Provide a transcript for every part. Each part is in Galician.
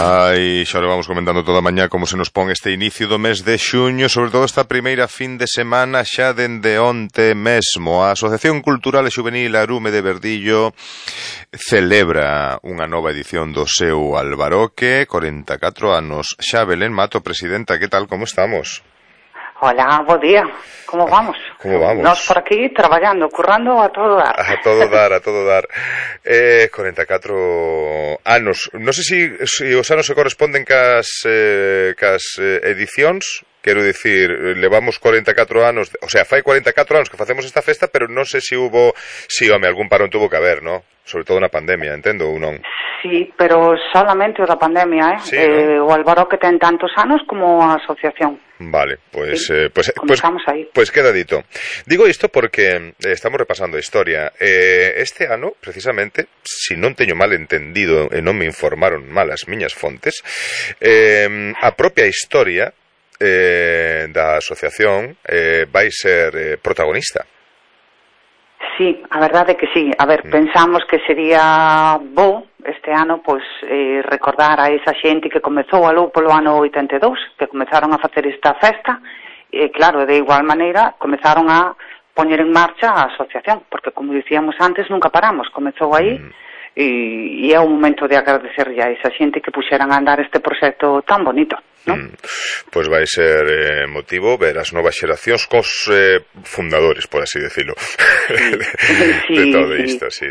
Ai, xa lo vamos comentando toda a mañá como se nos pon este inicio do mes de xuño, sobre todo esta primeira fin de semana xa dende onte mesmo. A Asociación Cultural e Xuvenil Arume de Verdillo celebra unha nova edición do seu Albaroque, 44 anos. Xa, Belén Mato, presidenta, que tal, como estamos? Hola, bo día. Como vamos? Como vamos? Nós por aquí traballando, currando a todo dar. A todo dar, a todo dar. 44 anos. Non sei se os anos se corresponden cas edicións. Quero dicir, levamos 44 anos, o sea, fai 44 anos que facemos esta festa, pero non sei se hubo, home, algún parón tuvo que haber, ¿no? Sobre todo na pandemia, entendo ou non? Sí, pero solamente o da pandemia, Sí, ¿no? O Albaroque ten tantos anos como a asociación. Vale, pues, sí, comenzamos aí. Pues queda dito. Digo isto porque estamos repasando a historia. Este ano, precisamente, si non teño mal entendido e non me informaron mal as miñas fontes, a propia historia da asociación vai ser protagonista. Sí, a verdade é que sí. A ver, pensamos que sería bo este ano, pois, recordar a esa xente que comezou aló polo ano 82, que comezaron a facer esta festa, e claro, de igual maneira, comezaron a poñer en marcha a asociación, porque como dicíamos antes, nunca paramos, comezou aí, e é o momento de agradecer a esa xente que puxeran a andar este proxecto tan bonito, non? Pois vai ser motivo ver as novas xeracións cos fundadores, por así decirlo, de todo isto, sí.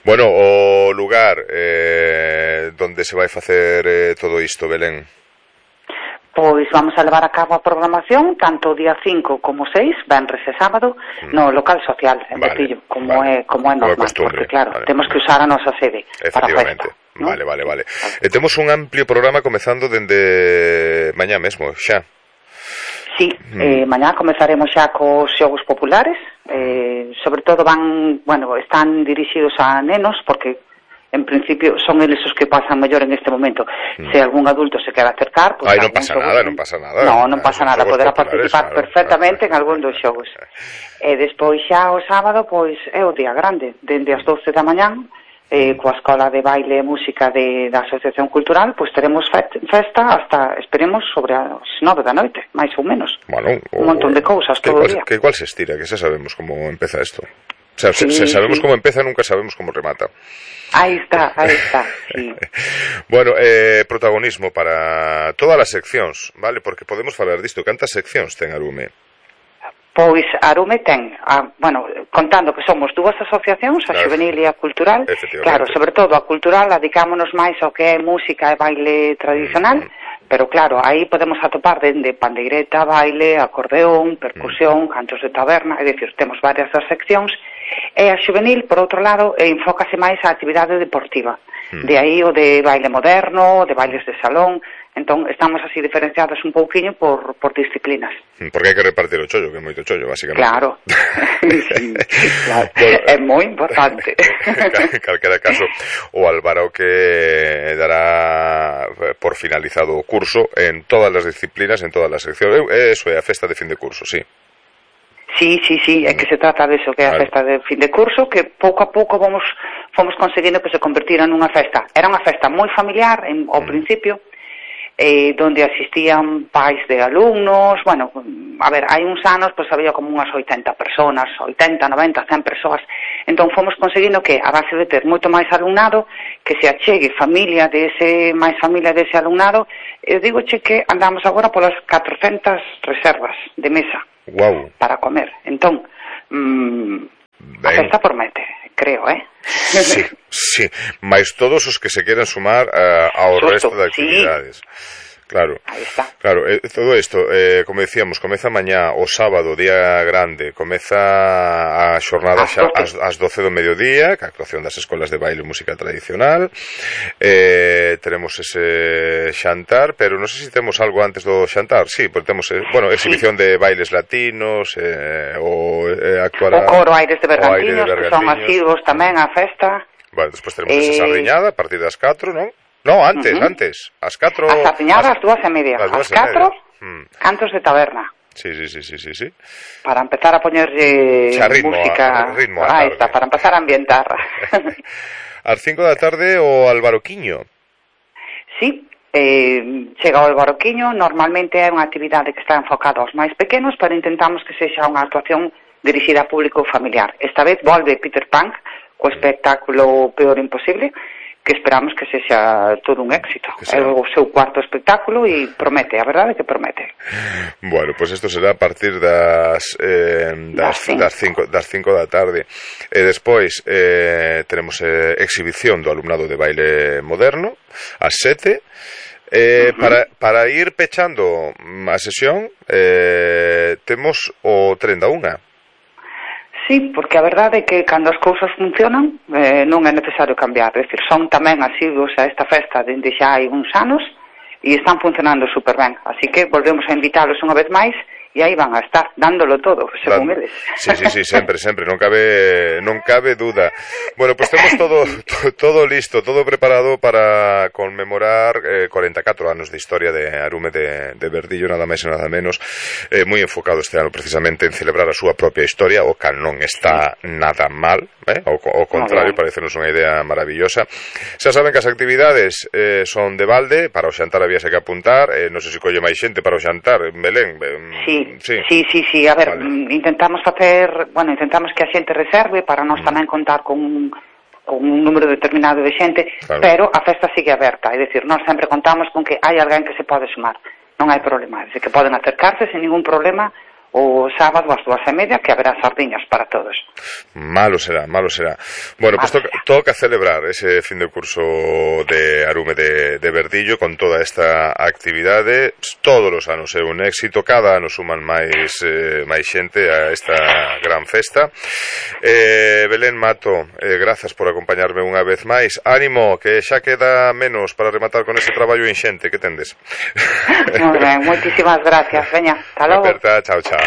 Bueno, o lugar donde se vai facer todo isto, Belén? Pois vamos a levar a cabo a programación tanto o día 5 como 6, venres e sábado, no local social, en Verdillo, como é normal, porque claro, temos que usar a nosa sede para a festa. ¿No? Vale. Temos un amplio programa comezando dende mañá mesmo, xa. Sí, mañá comezaremos xa cos xogos populares, sobre todo están dirixidos a nenos, porque en principio son eles os que pasan mellor en este momento. Se algún adulto se quer acercar, pues non pasa nada. Non pasa nada, poderá participar perfectamente en algún dos xogos. E despois xa o sábado, pois é o día grande, dende as 12 da mañán, coa Escola de Baile e Música da Asociación Cultural, pois teremos festa hasta, esperemos, sobre as 9 da noite, máis ou menos. Bueno, un montón de cousas todo o día. Que igual se estira, que xa sabemos como empeza isto. O sea, se sabemos como empeza, nunca sabemos como remata. Aí está, sí. Bueno, protagonismo para todas as seccións, vale? Porque podemos falar disto. Cantas seccións ten Arume? Pois Arume ten, contando que somos dúas asociacións, a Xuvenil e a Cultural, claro, sobre todo a Cultural dedicámonos máis ao que é música e baile tradicional, pero claro, aí podemos atopar dende pandeireta, baile, acordeón, percusión, cantos de taberna, é dicir, temos varias das seccións, e a Xuvenil, por outro lado, enfócase máis á actividade deportiva, de aí o de baile moderno, de bailes de salón. Entón, estamos así diferenciados un pouquiño por disciplinas. Porque hai que repartir o chollo, que é moito chollo, basicamente. Claro, sí, claro. Bueno, é moi importante. En calquera caso, o Albaroque dará por finalizado o curso en todas as disciplinas, en todas as seccións. Eso é a festa de fin de curso, sí. Sí, é que se trata de eso, que é a festa de fin de curso, que pouco a pouco fomos conseguindo que se convertira nunha festa. Era unha festa moi familiar ao principio, donde asistían pais de alumnos, hai uns anos había como unhas 80 personas, 80, 90, 100 persoas, entón fomos conseguindo que, a base de ter moito máis alumnado, que se achegue familia dese alumnado, eu digoche que andamos agora polas 400 reservas de mesa para comer, entón a festa promete, creo, Sí, máis todos os que se queran sumar ao resto de actividades. Claro, todo isto, como decíamos, comeza mañá, o sábado, día grande, comeza a xornada xa ás 12 do mediodía, que a actuación das escolas de baile e música tradicional, teremos ese xantar, pero non sei se temos algo antes do xantar, sí, porque temos, exhibición de bailes latinos, actuará o coro Aires de Bergantiños, que son asiduos tamén á festa. Bueno, despois teremos esa sardiñada a partir das 4, non? No, antes, as 4... A sardiñada ás 2:30, ás 4, cantos de taberna. Sí. Para empezar a poñerlle música... ritmo Ahí está, para empezar a ambientar. Ás 5 da tarde o Albaroquiño. sí, chega o Barroquiño, normalmente é unha actividade que está enfocada aos máis pequenos, pero intentamos que sexa unha actuación dirixida a público familiar. Esta vez volve Peter Pan co espectáculo Peor Imposible, que esperamos que sexa todo un éxito. É o seu cuarto espectáculo e promete, a verdade que promete. Bueno, pois isto será a partir das 5 da tarde. E despois teremos exhibición do alumnado de baile moderno ás 7. Para ir pechando a sesión, temos o tren da unha. Sí, porque a verdade é que cando as cousas funcionan non é necesario cambiar, é dicir, son tamén asiduos a esta festa dende xa hai uns anos e están funcionando super ben, así que volvemos a invitálos unha vez máis e aí van a estar dándolo todo, según eles. Sí, sempre, non cabe duda. Bueno, pues temos todo listo, todo preparado para conmemorar 44 anos de historia de Arume de Verdillo, nada máis e nada menos, moi enfocado este ano precisamente en celebrar a súa propia historia, o cal non está nada mal, ao contrario, parecenos unha idea maravillosa. Xa saben que as actividades son de balde, para o xantar habíase que apuntar, non sei se colle máis xente para o xantar, Belén. Sí, a ver, vale. Intentamos que a xente reserve para nós tamén contar con un número determinado de xente, claro. Pero a festa sigue aberta, é dicir, nós sempre contamos con que hai alguén que se pode sumar, non hai problema, é dicir, que poden acercarse sin ningún problema o sábado ás 2:30, que haberá sardiñas para todos. Malo será. Bueno, pues toca celebrar ese fin de curso de Arume de Verdillo con toda esta actividade. Todos os anos é un éxito, cada ano suman máis xente a esta gran festa. Belén Mato, grazas por acompañarme unha vez máis. Ánimo, que xa queda menos para rematar con ese traballo inxente que tendes. Moi ben, moitísimas gracias. Veña, hasta logo. Chao.